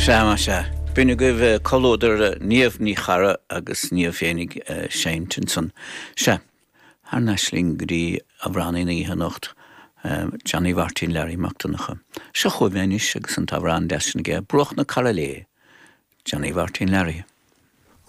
Sea, más ea. B'in agaibh comhluadar Niamh Ní Charra agus Niamh féinig ag seinnt ansan. Sea. Thar n-ais linn go dtí amhránaí na hoíche anocht, Johnny Mháirtín Learaí Mac Donncha. Seo chugaibh é anois agus an t-amhrán deas sin aige, Bruach na Cora Léith, Johnny Mháirtín Learaí.